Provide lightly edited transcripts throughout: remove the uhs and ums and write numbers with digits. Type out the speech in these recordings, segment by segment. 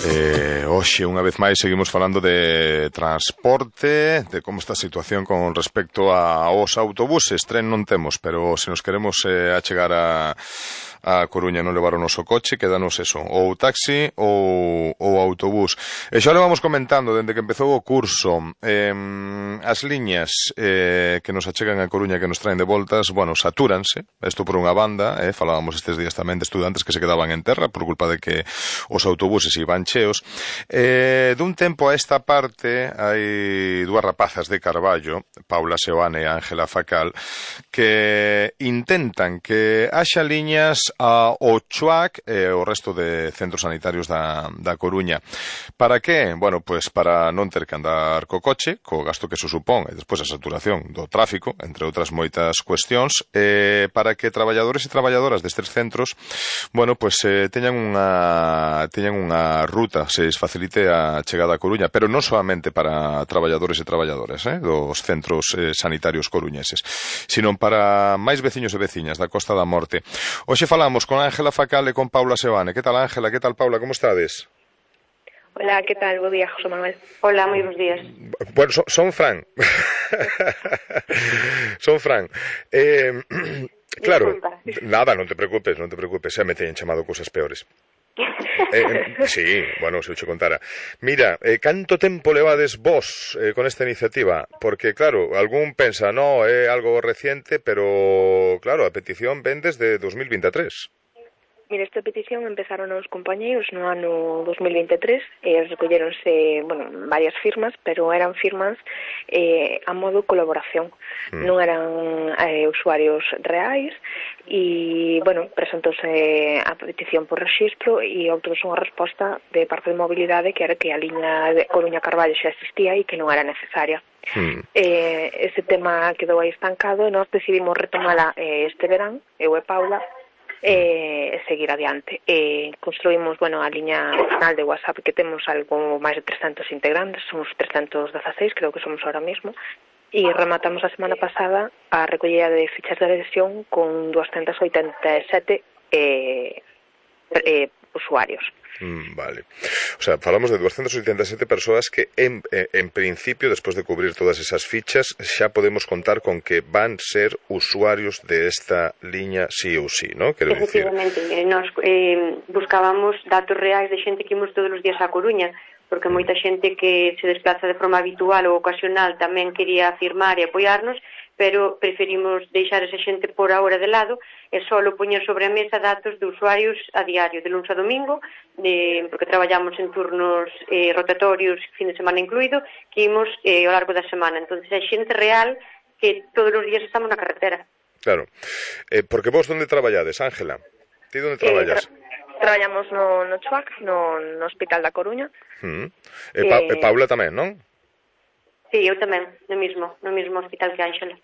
Hoxe, unha vez máis, seguimos falando de transporte, de como está a situación con respecto aos autobuses. Tren non temos, pero se nos queremos achegar a Coruña non levar o noso coche, quédanos eso, ou taxi ou autobús. E xa lo vamos comentando dende que empezou o curso. As liñas que nos achegan a Coruña, que nos traen de voltas, bueno, satúranse. Isto por unha banda, falábamos estes días tamén de estudantes que se quedaban en terra por culpa de que os autobuses iban cheos. Dun tempo a esta parte hai dúas rapazas de Carballo, Paula Seoane e Ángela Facal, que intentan que haxa liñas ao Chuac e o resto de centros sanitarios da Coruña. Para que? Bueno, pois para non ter que andar co coche, co gasto que se supón, e despois a saturación do tráfico, entre outras moitas cuestións, para que traballadores e traballadoras destes centros, bueno, pois teñan unha ruta, se les facilite a chegada a Coruña, pero non solamente para traballadores e traballadoras dos centros sanitarios coruñeses, sino para máis veciños e veciñas da Costa da Morte. Hoxe falamos con Ángela Facal e con Paula Seoane. Que tal, Ángela? Que tal, Paula? Como estades? Hola, ¿qué tal? Buen día, José Manuel. Hola, moi bons días. Bueno, son Fran. Son Fran. Claro, nada, non te preocupes, xa me teñen chamado cousas peores. Sí, bueno, se eu che contara. Mira, canto tempo levades vos con esta iniciativa? Porque, claro, algún pensa, no, é algo reciente, pero, claro, a petición ven desde 2023. Mira, esta petición empezaron os compañeiros no ano 2023 e recolleronse, bueno, varias firmas, pero eran firmas a modo colaboración. Non eran usuarios reais e, bueno, presentouse a petición por rexistro e obtuvose unha resposta de parte de mobilidade que era que a liña de Coruña-Carballo xa existía e que non era necesaria. Ese tema quedou aí estancado e nós decidimos retomala este verán, eu e Paula, seguir adiante. Construímos, bueno, a liña final de WhatsApp que temos algo máis de 300 integrantes, somos 316, creo que somos ahora mismo, e rematamos a semana pasada a recollida de fichas de adhesión con 287 usuarios. Vale. O sea, falamos de 287 persoas que en principio, despois de cubrir todas esas fichas, xa podemos contar con que van ser usuarios de esta liña sí ou sí, ¿no? Quero efectivamente, nos buscábamos datos reais de xente que imos todos os días a Coruña, porque moita xente que se desplaza de forma habitual ou ocasional tamén quería firmar e apoiarnos, pero preferimos deixar esa xente por ahora de lado e só poñer sobre a mesa datos de usuarios a diario, de luns a domingo, porque traballamos en turnos rotatorios, fin de semana incluído, que imos ao largo da semana. Entón, é xente real que todos os días estamos na carretera. Claro. Porque vos onde traballades, Ángela? Ti onde traballas? Traballamos no Chuac, no Hospital da Coruña. Paula tamén, non? Sí, eu tamén, no mesmo hospital que Ángela.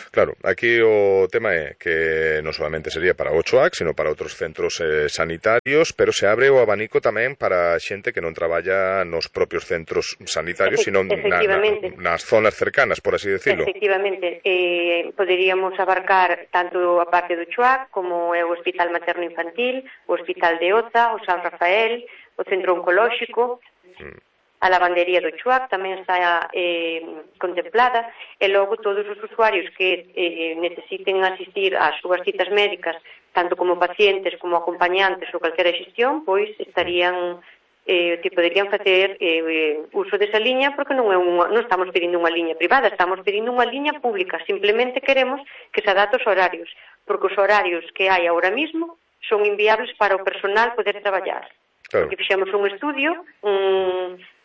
Claro, aquí o tema é que non solamente sería para o Chuac, sino para outros centros sanitarios, pero se abre o abanico tamén para xente que non traballa nos propios centros sanitarios, sino nas zonas cercanas, por así decirlo. Efectivamente, poderíamos abarcar tanto a parte do Chuac como o Hospital Materno Infantil, o Hospital de Oza, o San Rafael, o Centro Oncolóxico. A lavandería do Chuac tamén está contemplada e logo todos os usuarios que necesiten asistir ás súas citas médicas, tanto como pacientes como acompañantes ou calquera xestión, pois estarían que poderían facer uso desa liña, porque non estamos pedindo unha liña privada, estamos pedindo unha liña pública, simplemente queremos que se adapte aos horarios, porque os horarios que hai agora mismo son inviables para o personal poder traballar. Claro. Porque fixemos un estudio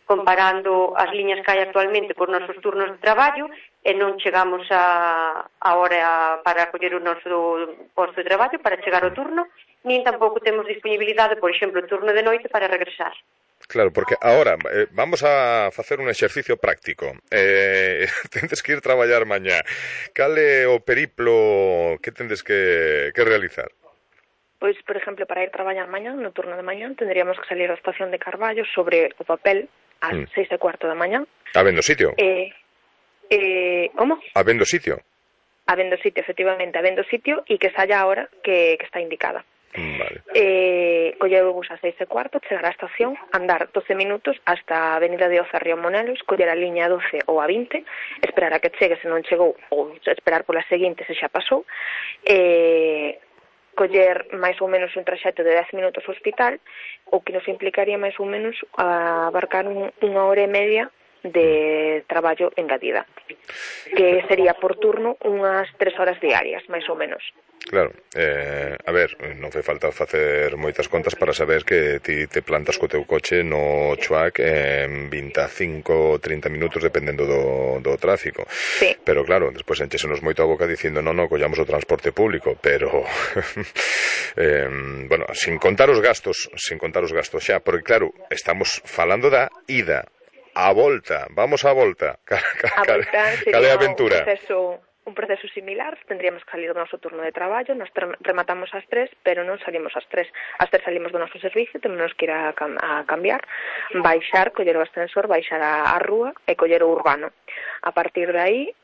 comparando as liñas que hai actualmente cos nosos turnos de traballo e non chegamos a hora para coller o noso posto de traballo para chegar ao turno, nin tampouco temos disponibilidade, por exemplo, o turno de noite para regresar. Claro, porque ahora vamos a facer un exercicio práctico. Tendes que ir traballar mañá. Cal é o periplo que tendes que realizar? Pois, por exemplo, para ir traballar mañá, no turno de mañá, tendríamos que salir da estación de Carballo sobre o papel ás 6:15 da mañá. Habendo sitio? Como? Habendo sitio? Habendo sitio, efectivamente, habendo sitio e que saia a hora que está indicada. Vale. Coller o bus a 6:15, chegar á estación, andar 12 minutos hasta a avenida de Oza Río Monelos, coller a liña 12 ou a 20, esperar a que chegue se non chegou, ou esperar pola seguinte se xa pasou, coller máis ou menos un traxecto de 10 minutos ao hospital, o que nos implicaría máis ou menos abarcar unha hora e media de traballo engadida, que sería por turno unhas 3 horas diarias, máis ou menos. Claro, a ver, non fai falta facer moitas contas para saber que ti te plantas co teu coche no Chuac en 25 ou 30 minutos dependendo do tráfico. Sí. Pero claro, despois enchesenos moito a boca dicindo non, collamos o transporte público, pero bueno, sin contar os gastos xa, porque claro, estamos falando da ida, a volta, vamos á volta. Cal é a aventura? Un proceso similar, tendríamos que salir do noso turno de traballo, nos rematamos ás 3, pero non salimos ás 3. Ás 3 salimos do noso servicio, temos que ir a cambiar, baixar, coller o ascensor, baixar a rúa e coller o urbano. A partir de aí,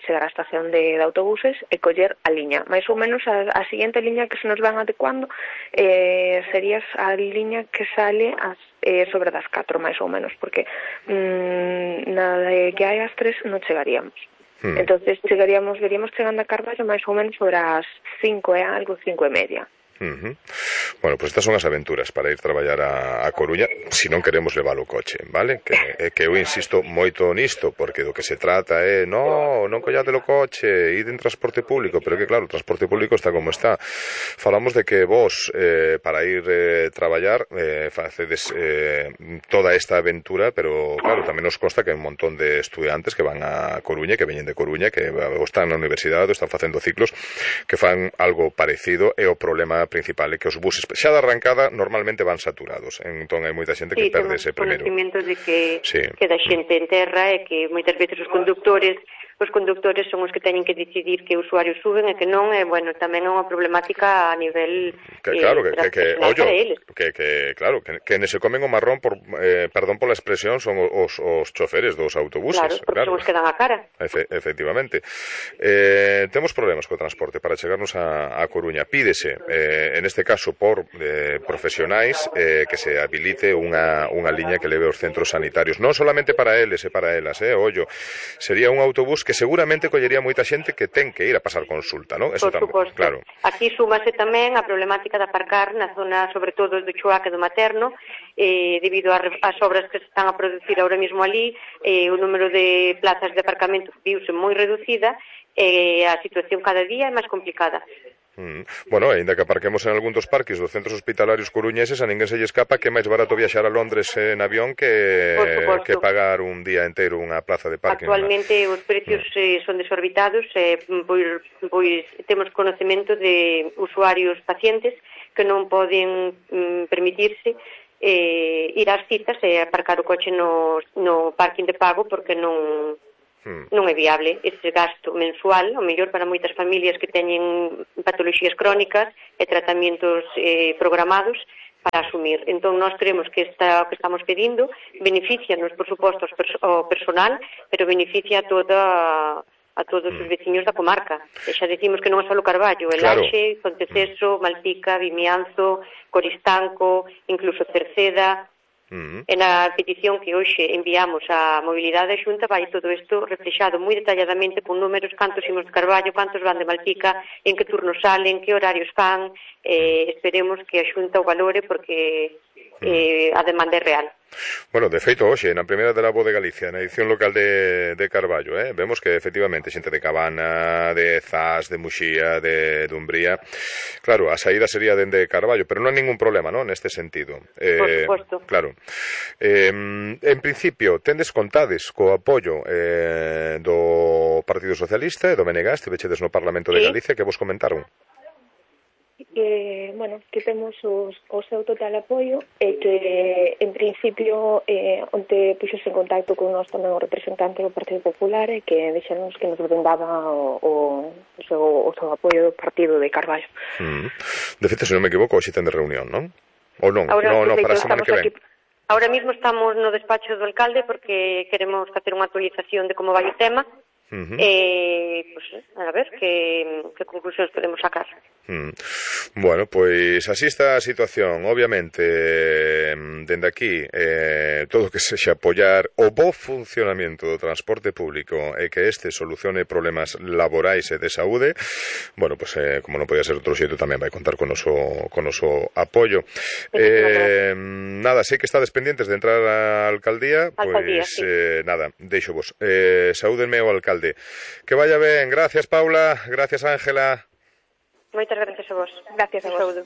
chegar á estación de autobuses e coller a liña. Mais ou menos a seguinte liña que se nos van adecuando sería a liña que sale sobre das 4, máis ou menos, porque nada de que hai ás 3 non chegaríamos. Entonces veríamos chegando a Carballo máis ou menos sobre as 5 e algo, 5:30. Bueno, pues estas son as aventuras para ir traballar a Coruña, se non queremos levar o coche, vale? Que eu insisto moito nisto, porque do que se trata é non collade o coche, id en transporte público, pero que claro, o transporte público está como está. Falamos de que vos, para ir traballar, facedes toda esta aventura, pero claro, tamén nos consta que hai un montón de estudiantes que van a Coruña, que veñen de Coruña, que están na universidade, están facendo ciclos, que fan algo parecido, e o problema principal é que os buses xa de arrancada normalmente van saturados, entón hai moita xente que perde ese primeiro. Sí, temos conhecimento de que da xente en terra e que moitas veces os conductores son os que teñen que decidir que usuarios suben e que non, e bueno, tamén é unha problemática a nivel claro, que nese comen o marrón por perdón pola expresión, son os choferes dos autobuses. Claro, porque son os que dan a cara. Efectivamente. Temos problemas co transporte para chegarnos a Coruña. Pídese, en este caso por profesionais, que se habilite unha liña que leve aos centros sanitarios, non solamente para eles e para elas, ollo, sería un autobús que seguramente collería moita xente que ten que ir a pasar consulta, non? Eso por suposto. Claro. Aquí súmase tamén a problemática de aparcar na zona, sobre todo do Chuac e do Materno, debido ás obras que se están a producir ahora mismo ali, o número de plazas de aparcamento viuse moi reducida e a situación cada día é máis complicada. Bueno, ainda que aparquemos en algún dos parques dos centros hospitalarios coruñeses, a ninguén se lle escapa que é máis barato viaxar a Londres en avión que pagar un día inteiro unha plaza de parking. Actualmente os precios son desorbitados, pois temos conocemento de usuarios pacientes que non poden permitirse ir ás citas e aparcar o coche no parking de pago porque non é viable ese gasto mensual, o mellor para moitas familias que teñen patoloxías crónicas e tratamentos programados para asumir. Entón, nós creemos que o que estamos pedindo beneficianos, por suposto, ao personal, pero beneficia a todos os veciños da comarca. E xa decimos que non é só Carballo, Laxe, Ponteceso, Malpica, Vimianzo, Coristanco, incluso Cerceda. En a petición que hoxe enviamos á Mobilidade Xunta vai todo isto reflexado moi detalladamente con números, cantos imos de Carballo, cantos van de Malpica, en que turnos salen, que horarios fan, esperemos que a Xunta o valore porque a demanda é real. Bueno, de feito, hoxe, na primeira de la Voz de Galicia, na edición local de Carballo, vemos que, efectivamente, xente de Cabana, de Zas, de Muxía, de Dumbría, claro, a saída sería dende Carballo, pero non hai ningún problema, non, neste sentido. Por suposto. Claro. En principio, tendes contades co apoio do Partido Socialista e do BNG, estivechedes no Parlamento de Galicia, que vos comentaron? Que temos o seu total apoio e que, en principio, onte puxose en contacto con nós tamén o representante do Partido Popular e que deixamos que nos brindaba o seu apoio do partido de Carballo. De feito, se non me equivoco, hoxe ten de reunión, non? Ou non? Non, para a semana que ven. Ahora mismo estamos no despacho do alcalde porque queremos facer unha actualización de como vai o tema Pues, a ver que conclusións podemos sacar. Bueno, pois así está a situación. Obviamente, dende aquí, todo que sexa apoiar o bo funcionamento do transporte público e que este solucione problemas laborais e de saúde, bueno, pues, como non podía ser outro xeito, tamén vai contar con noso apoio. Nada, sei que estades pendientes de entrar á alcaldía, pois sí. Nada, deixo vos. Saúdenme ao alcalde. Que vaya ben. Gracias, Paula. Gracias, Ángela. Moitas gracias a vos. Gracias a vos. Saúdo.